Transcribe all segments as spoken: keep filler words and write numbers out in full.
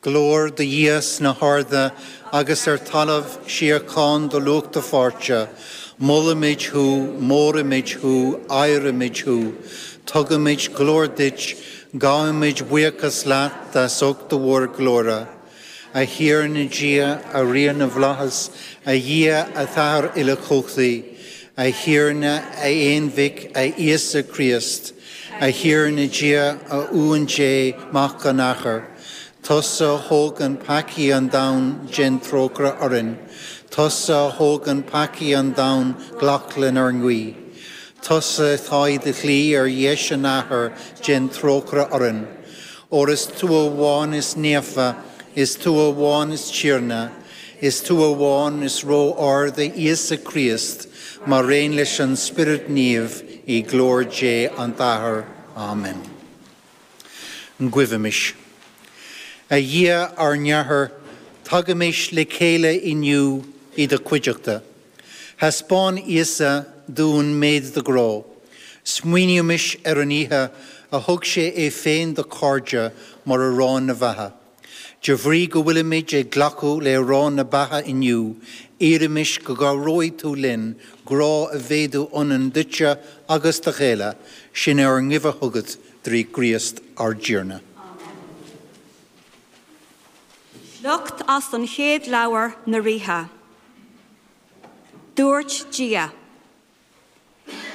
Glóir do Dhia sna harda agus ar talamh síocháin do lucht a pháirte, Molaimid thú, móraimid thú, adhraimid thú, Tugaimid glóir duit, gabhaimid buíochas leat as ucht do mhórghlóire. A Thiarna Dia, a Rí na bhFlaitheas, a Dhia a Athair uilechumhachtaigh, a Thiarna a Aonmhic a Íosa Críost, a Thiarna Dia a Uan Dé Mac an Athar, Tusa a thógann peacaí an domhain déan trócaire orainn, Tusa a thógann peacaí an domhain glac lenár nguí. Tusa atá i do shuí ar dheis an Athar déan trócaire orainn. Óir is tú amháin is naofa, is tú amháin is Tiarna, is tú amháin is ró-ard a Íosa Críost, mar aon leis an Spiorad Naomh i nglóir Dé an tAthair. Amen. Guímis. A Dhia ár nAthair, tagaimis le chéile inniu i do chuideachta. Thaispeáin Íosa dúinn méid do ghrá. Smaoinímis ar an oíche a thug sé é féin dá chairde mar arán na beatha. De bhrí go bhfuilimid ag glacadh le arán na beatha inniu, iarraimis go gcabhróidh tú linn grá a mhéadú ionainn duitse agus dá chéile, sin ár nguí chugat trí Chríost ár dTiarna. Sliocht as an chéad leabhar na Ríthe. Dúirt Dia.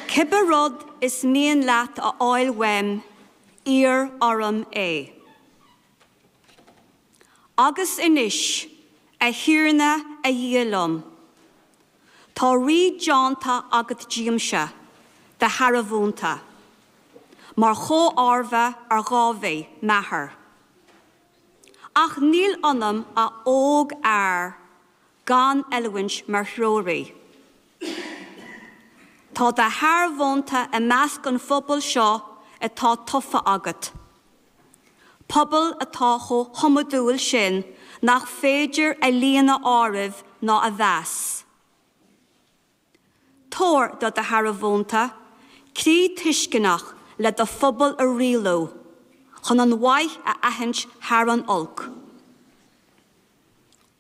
Cibé rud is mian leat a fháil uaim, iarr orm é. Agus anois a Thiarna a Dhia liom. Tá rí déanta agat díomsa, do shearbhónta, mar chomharba ar Dháiví m'athair. Ach níl ionam ach ógfhear gan oiliúint mar threoraí. Tá do shearbhónta i measc an phobail seo atá tofa agat. Pobal atá chomh hiomadúil sin nach féidir a líon a áireamh ná a mheas. Tabhair do do shearbhónta, croí tuisceanach le do phobal a rialú, chun an mhaith a aithint thar an olc.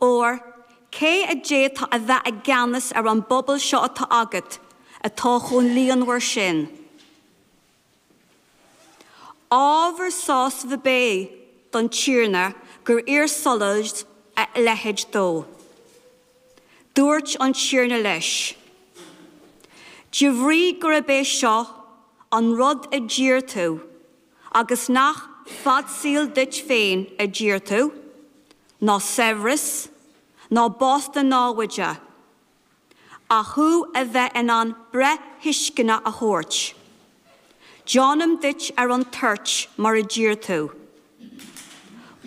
Óir cé a d'fhéadfadh a bheith i gceannas ar an bpobal seo atá agat atá chomh líonmhar sin. Ábhar sásaimh ab ea don Tiarna gur iarr Solomon a leithéid dó. Dúirt an Tiarna leis. De bhrí gurb é seo an rud a d'iarr tú, agus nach fad saoil duit féin a d'iarr tú, ná saibhreas, ná bás do námhaide, ach thú a bheith in ann breith thuisceanach a thabhairt. Déanaim duit ar an toirt mar a d'iarr tú.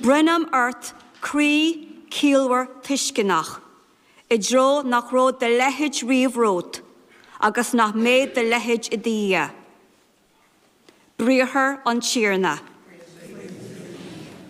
Bronnaim ort croí ciallmhar tuisceanach, i dtreo nach raibh do leithéid riamh romhat, agus nach mbeidh do leithéid i do dhiaidh. Briathar an Tiarna.